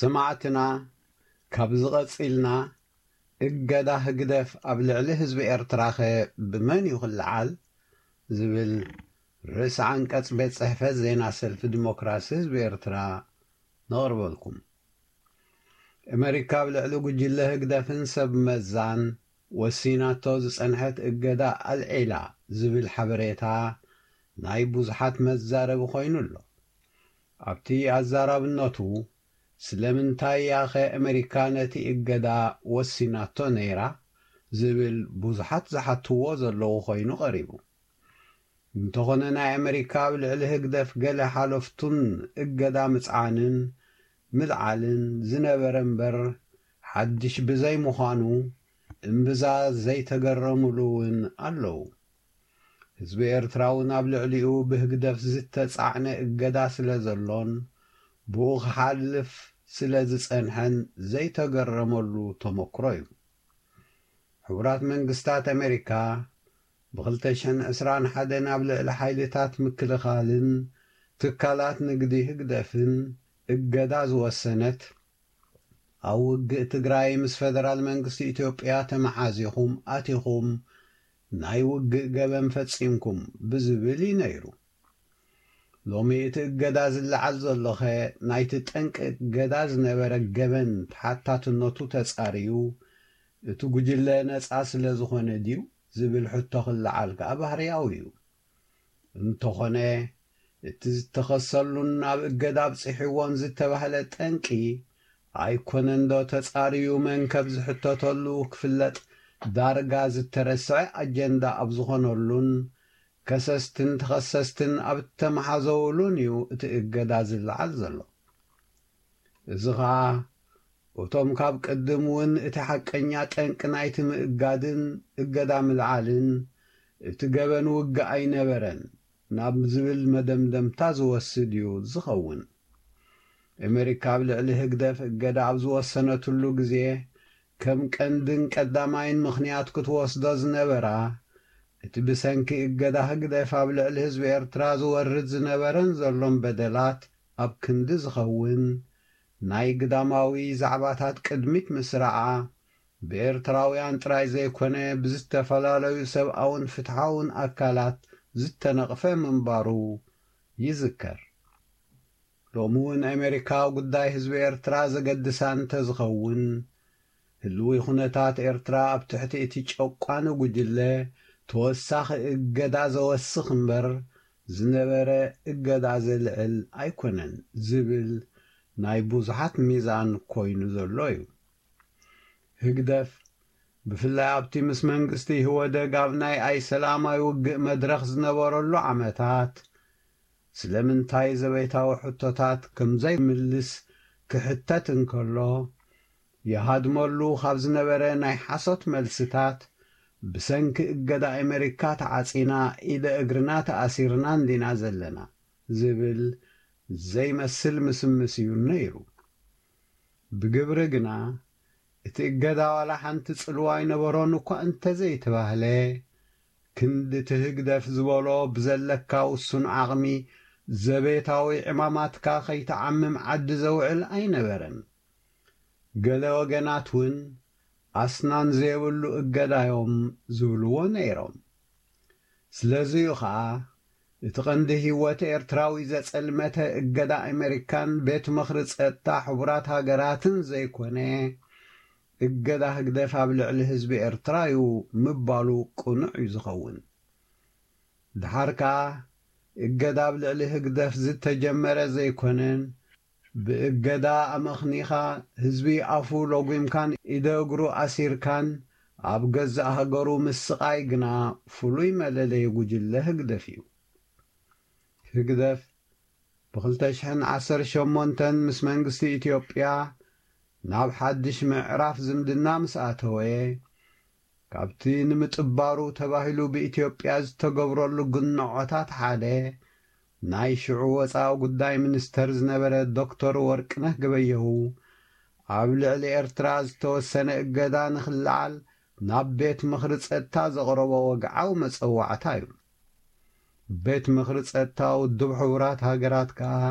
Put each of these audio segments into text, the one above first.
ሰማዕትና፣ ካብዚ ቀጺልና እገዳ ህግደፍ ኣብ ልዕሊ ህዝቢ ኤርትራኸ ብመን እዩ ክለዓል ዝብል ርእሲ ዓንቀጽ ቤት ጽሕፈት ዜና ሰልፊ ዲሞክራሲ ህዝቢ ኤርትራ ነቕርበልኩም። ኣመሪካ ኣብ ልዕሊ ጉጅለ ህግደፍን ሰብ መዛን ወሲናቶ ዝጸንሐት እገዳ ኣልዒላ ዝብል ሓበሬታ ናይ ብዙሓት መዛረቢ ኮይኑ ኣሎ። ኣብቲ ኣዛራብነቱ፣ ስለምንታይ እያኸ ኣመሪካ ነቲ እገዳ ወሲናቶ ነይራ ዝብል ብዙሓት ዝሓትዎ ዘለዉ ኮይኑ ቀሪቡ። እንተኾነ፣ ናይ ኣመሪካ ኣብ ልዕሊ ህግደፍ ገለ ሓለፍቱን እገዳ ምጽዓንን ምልዓልን ዝነበረ እምበር ሓድሽ ብዘይ ምዃኑ፣ እምብዛ ዘይተገረሙሉ እውን ኣለዉ። ህዝቢ ኤርትራ እውን ኣብ ልዕሊኡ ብህግደፍ ዝተጻዕነ እገዳ ስለ ዘሎን ብኡ ክሓልፍ ስለ ዝጸንሐን ዘይተገረመሉ ተመክሮ እዩ። ሕቡራት መንግስታት ኣመሪካ ብ ክልተ ሽሕን ዕስራን ሓደን ኣብ ልዕሊ ሓይልታት ምክልኻልን ትካላት ንግዲ ህግደፍን እገዳ ዝወሰነት፣ ኣብ ውግእ ትግራይ ምስ ፈደራል መንግስቲ ኢትዮጵያ ተመሓዚኹም ኣቲኹም ናይ ውግእ ገበን ፈጺምኩም ብዝብል እዩ ነይሩ። ሎሚ እቲ እገዳ ዝለዓል ዘሎኸ ናይቲ ጠንቂ እገዳ ዝነበረ ገበን ተሓታትነቱ ተጻርዩ እቲ ጉጅለ ነጻ ስለ ዝኾነ ድዩ ዝብል ሕቶ ክለዓል ከኣ ባህርያዊ እዩ። እንተኾነ፣ እቲ ዝተኸሰሉን ናብ እገዳ ኣብጺሕዎን ዝተባህለ ጠንቂ ኣይኮነን ዶ ተጻርዩ መን ከም ዝሕተተሉ ክፍለጥ ዳርጋ ዝተረስዐ ኣጀንዳ ኣብ ዝኾነሉን ከሰስትን ተኸሰስትን ኣብ እተመሓዘውሉን እዩ እቲ እገዳ ዝለዓል ዘሎ። እዚ ኸኣ እቶም ካብ ቅድም እውን እቲ ሓቀኛ ጠንቂ ናይቲ ምእጋድን እገዳ ምልዓልን እቲ ገበን ውግእ ኣይነበረን ናብ ዝብል መደምደምታ ዝወስድ እዩ ዝኸውን። ኣመሪካ ኣብ ልዕሊ ህግደፍ እገዳ ኣብ ዝወሰነትሉ ግዜ ከም ቀንድን ቀዳማይን ምኽንያት ክትወስዶ ዝነበራ፣ እቲ ብሰንኪ እገዳ ህግደፍ ኣብ ልዕሊ ህዝቢ ኤርትራ ዝወርድ ዝነበረን ዘሎን በደላት ኣብ ክንዲ ዝኸውን፣ ናይ ግዳማዊ ዛዕባታት ቅድሚት ምስራዓ፣ ብኤርትራውያን ጥራይ ዘይኮነ ብዝተፈላለዩ ሰብኣውን ፍትሓውን ኣካላት ዝተነቕፈ ምንባሩ ይዝከር። ሎሚ እውን ኣሜሪካ ጉዳይ ህዝቢ ኤርትራ ዘገድሳ እንተዝኸውን፣ ህልዊ ኩነታት ኤርትራ ኣብ ትሕቲ እቲ ጨቋኒ ጉጅለ ተወሳኺ እገዳ ዘወስኽ እምበር ዝነበረ እገዳ ዘልዕል ኣይኮነን ዝብል ናይ ብዙሓት ሚዛን ኮይኑ ዘሎ እዩ። ህግደፍ ብፍላይ ኣብቲ ምስ መንግስቲ ኢህወደግ ኣብ ናይ ኣይሰላማዊ ውግእ መድረኽ ዝነበረሉ ዓመታት ስለምንታይ ዘቤታዊ ሕቶታት ከም ዘይምልስ ክሕተት እንከሎ፣ ይሃድመሉ ካብ ዝነበረ ናይ ሓሶት መልስታት፣ ብሰንኪ እገዳ ኣሜሪካ ተዓጺና ኢደ እግርና ተኣሲርና እንዲና ዘለና ዝብል ዘይመስል ምስምስ እዩ ነይሩ። ብግብሪ ግና እቲ እገዳ ዋላ ሓንቲ ጽልዋ ኣይነበሮን እኳ እንተዘይተባህለ፣ ክንዲ እቲ ህግደፍ ዝበሎ ብዘለካ ውሱን ዓቕሚ ዘቤታዊ ዕማማትካ ከይትዓምም ዓዲ ዘውዕል ኣይነበረን። ገለ ወገናት እውን ኣስናን ዘየብሉ እገዳዮም ዝብልዎ ነይሮም። ስለዚ'ዩ ኸኣ እቲ ቀንዲ ህይወት ኤርትራዊ ዘጸልመተ እገዳ ኣሜሪካን ቤት ምኽሪ ጸጥታ ሕቡራት ሃገራትን ዘይኮነ፣ እገዳ ህግደፍ ኣብ ልዕሊ ህዝቢ ኤርትራ እዩ ምባሉ ቅኑዕ እዩ ዝኸውን። ደሓር ከኣ እገዳ ኣብ ልዕሊ ህግደፍ ዝተጀመረ ዘይኮነን፣ ብእገዳ ኣመኽኒኻ ህዝቢ ኣፉ ሎጒምካን ኢደ እግሩ ኣሲርካን ኣብ ገዛእ ሃገሩ ምስቓይ ግና ፍሉይ መለለዪ ጉጅለ ህግደፍ እዩ። ህግደፍ ብ ክልተ ሽሕን ዓሰርተ ሸሞንተን ምስ መንግስቲ ኢትዮጵያ ናብ ሓድሽ ምዕራፍ ዝምድና ምስ ኣተወ፣ ካብቲ ንምጥባሩ ተባሂሉ ብኢትዮጵያ ዝተገብረሉ ግንዖታት ሓደ፣ ናይ ሽዑ ወጻኢ ጉዳይ ሚኒስተር ዝነበረ ዶክተር ወርቅነህ ገበየሁ፣ ኣብ ልዕሊ ኤርትራ ዝተወሰነ እገዳ ንኽለዓል ናብ ቤት ምኽሪ ጸጥታ ዘቕረቦ ወግዓዊ መጸዋዕታ እዩ። ቤት ምኽሪ ጸጥታ ውድብ ሕቡራት ሃገራት ከኣ፣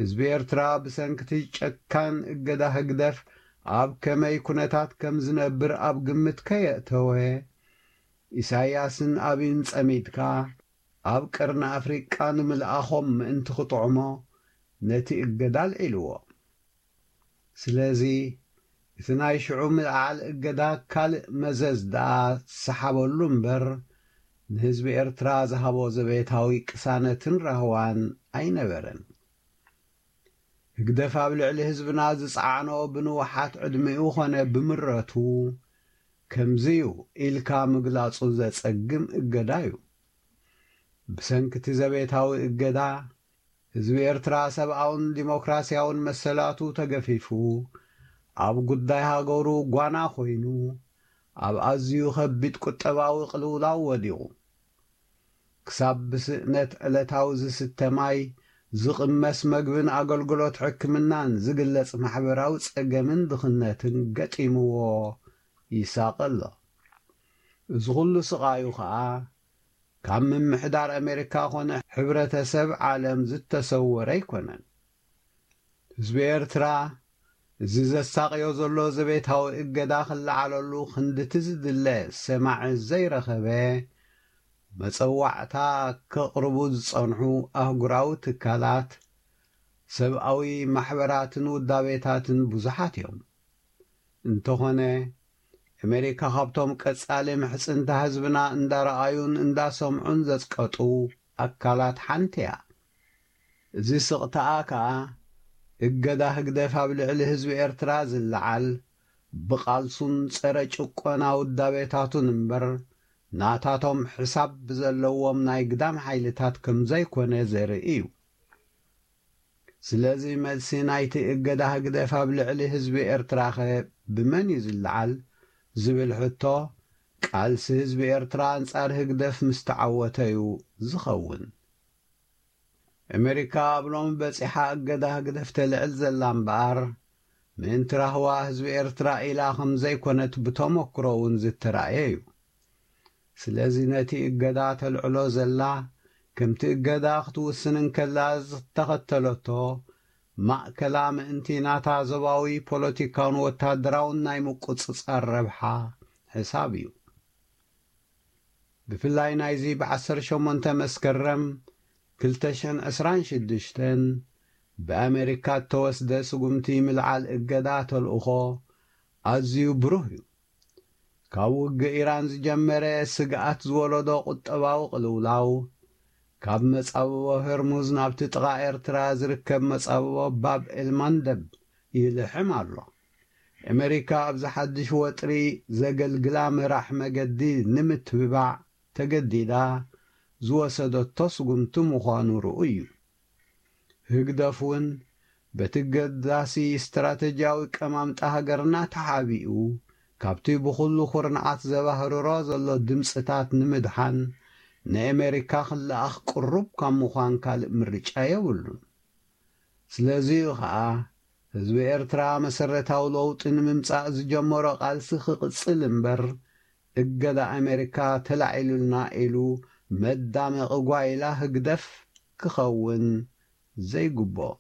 ህዝቢ ኤርትራ ብሰንክቲ ጨካን እገዳ ህግደፍ ኣብ ከመይ ኩነታት ከም ዝነብር ኣብ ግምት ከየእተወ፣ ኢሳያስን ኣብይን ጸሚድካ ኣብ ቀርኒ ኣፍሪቃ ንምልኣኾም ምእንቲ ክጥዕሞ ነቲ እገዳ ኣልዒልዎ። ስለዚ እቲ ናይ ሽዑ ምልዓል እገዳ ካልእ መዘዝ ደኣ ዝሰሓበሉ እምበር፣ ንህዝቢ ኤርትራ ዝሃቦ ዘቤታዊ ቅሳነትን ራህዋን ኣይነበረን። ህግደፍ ኣብ ልዕሊ ህዝብና ዝጸዓኖ ብንውሓት ዕድሚኡ ኾነ ብምረቱ፣ ከምዚ'ዩ ኢልካ ምግላጹ ዘጸግም እገዳ'ዩ። ብሰንኪ እቲ ዘቤታዊ እገዳ፣ ህዝቢ ኤርትራ ሰብኣውን ዲሞክራስያውን መሰላቱ ተገፊፉ፣ ኣብ ጉዳይ ሃገሩ ጓና ኮይኑ፣ ኣብ ኣዝዩ ከቢድ ቁጠባዊ ቅልውላው ወዲቑ። ክሳብ ብስእነት ዕለታዊ ዝስተ ማይ፣ ዝቕመስ መግብን ኣገልግሎት ሕክምናን ዝግለጽ ማሕበራዊ ጸገምን ድኽነትን ገጢምዎ ይሳቐ ኣሎ። እዚ ኹሉ ስቓዩ ኸኣ፣ ካብ ምምሕዳር ኣሜሪካ ኾነ ሕብረተሰብ ዓለም ዝተሰወረ ኣይኮነን። ህዝቢ ኤርትራ፣ እዚ ዘሳቕዮ ዘሎ ዘቤታዊ እገዳ ክለዓለሉ ክንድቲ ዝድለ ሰማዒ ዘይረኸበ፣ መጸዋዕታ ከቕርቡ ዝጸንሑ ኣህጉራዊ ትካላት፣ ሰብኣዊ ማሕበራትን ውዳቤታትን ብዙሓት እዮም። እንተኾነ፣ ኣሜሪካ ካብቶም ቀጻሊ ምሕጽንታ ህዝብና እንዳረኣዩን እንዳሰምዑን ዘጽቀጡ ኣካላት ሓንቲ እያ። እዚ ስቕታኣ ከኣ፣ እገዳ ህግደፍ ኣብ ልዕሊ ህዝቢ ኤርትራ ዝለዓል፣ ብቓልሱን ጸረ ጭቆና ውዳቤታቱን እምበር፣ ናታቶም ሕሳብ ብዘለዎም ናይ ግዳም ሓይልታት ከም ዘይኮነ ዘርኢ እዩ። ስለዚ መልሲ ናይቲ እገዳ ህግደፍ ኣብ ልዕሊ ህዝቢ ኤርትራኸ ብመን እዩ ዝለዓል? ዝብል ሕቶ፣ ቃልሲ ህዝቢ ኤርትራ ኣንጻር ህግደፍ ምስ ተዓወተ እዩ ዝኸውን። ኣሜሪካ ኣብ ሎሚ በጺሓ እገዳ ህግደፍ ተልዕል ዘላ እምበኣር፣ ምእንቲ ራህዋ ህዝቢ ኤርትራ ኢላ ከም ዘይኮነት ብተመክሮ እውን ዝተራእየ እዩ። ስለዚ ነቲ እገዳ ተልዕሎ ዘላ፣ ከምቲ እገዳ ክትውስን እንከላ ዝተኸተለቶ ማእከላ ምእንቲ ናታ ዞባዊ ፖለቲካውን ወታደራውን ናይ ምቁጽጻር ረብሓ ሕሳብ እዩ። ብፍላይ ናይዚ ብዓሰርተ ሸሞንተ መስከረም ክልተ ሽሕን ዕስራን ሽዱሽተን ብኣሜሪካ እተወስደ ስጉምቲ ምልዓል እገዳ ተልእኾ ኣዝዩ ብሩህ እዩ። ካብ ውግእ ኢራን ዝጀመረ ስግኣት ዝወለዶ ቁጠባዊ ቅልውላው፣ ካብ መጻብቦ ሆርሙዝ ናብቲ ጥቓ ኤርትራ ዝርከብ መጻብቦ ባብ ኤልማንደብ ይልሕም ኣሎ። ኣሜሪካ ኣብዚ ሓድሽ ወጥሪ ዘገልግላ መራሕ መገዲ ንምትብባዕ ተገዲዳ ዝወሰደቶ ስጉምቲ ምዃኑ ርኡይ እዩ። ህግደፍ እውን በቲ ገዳሲ ስትራተጂያዊ ቀማምጣ ሃገርና ተሓቢኡ፣ ካብቲ ብኹሉ ኩርንዓት ዘባህርሮ ዘሎ ድምጽታት ንምድሓን ንኣሜሪካ ክለኣኽ ቅሩብ ካብ ምዃን ካልእ ምርጫ የብሉን። ስለዚ'ዩ ኸኣ ህዝቢ ኤርትራ መሰረታዊ ለውጢ ንምምጻእ ዝጀመሮ ቃልሲ ክቕጽል እምበር፣ እገዳ ኣሜሪካ ተላዒሉልና ኢሉ መዳመቒ ጓይላ ህግደፍ ክኸውን ዘይግብኦ።